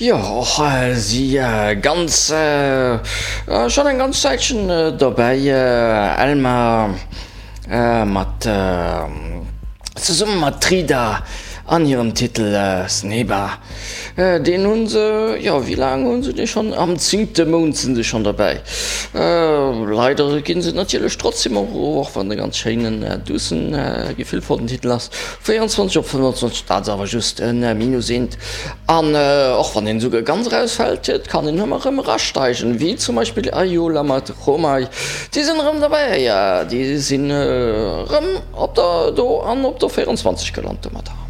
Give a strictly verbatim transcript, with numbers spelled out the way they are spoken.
Jo, och si ganz, schonn eng ganz Zäitchen dobäi, Elmar mat, zesumme mat Trida an hirem Titel Sneba. Deen hu se, jo, wéi laang hu se dee schonn? Am zéngte Mount sinn se schonn dobäi. Leider ginn se natierlech trotzdem och erof, och wann e ganz schéinen, duussen, gefillvollen Titel ass. véierundzwanzeg op fënnwandzwanzeg, dat ass awer just e Minus eent. An och wann een esouguer ganz erausfält, et kann een ëmmer erëm erasteigen, wéi zum Beispill Ayola mat Romay. Déi sinn erëm derbäi, déi sinn erëm op der do an op der véierundzwanzeg gelant domadder.